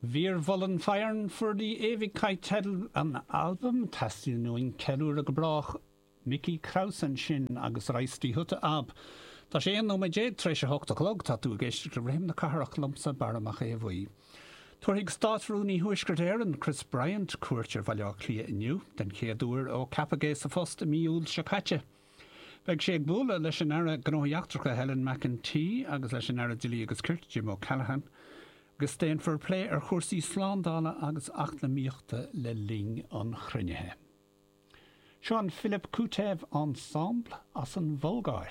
Wir wollen feiern für die Ewigkeit teideal an albaim, Teastaíonn uainn ceiliúradh go brách. Micki Krause ansin agus Reiß die Hüte ab. Tá sé 11 nóiméad tar éis a hocht a chlog, tá tú ag éisteacht le Rithim na Cathrach liomsa, Barra Mac Aodha Bhuí. Tabharfaidh Státrúnaí Thuaisceart Éireann, Chris Bryant, cuairt ar Bhaile Átha Cliath inniu, den chéad uair ó ceapadh é sa phost i mí Iúil seo caite. Beidh sé ag bualadh leis an Aire Gnóthaí Eachtracha Helen McEntee agus leis an Aire Dlí agus Cirt Jim O'Callaghan agus déanfar plé ar chúrsaí slándála agus eacnamaíochta le linn an chruinnithe. Seo an Philip Koutev Ensemble as an Bhulgáir.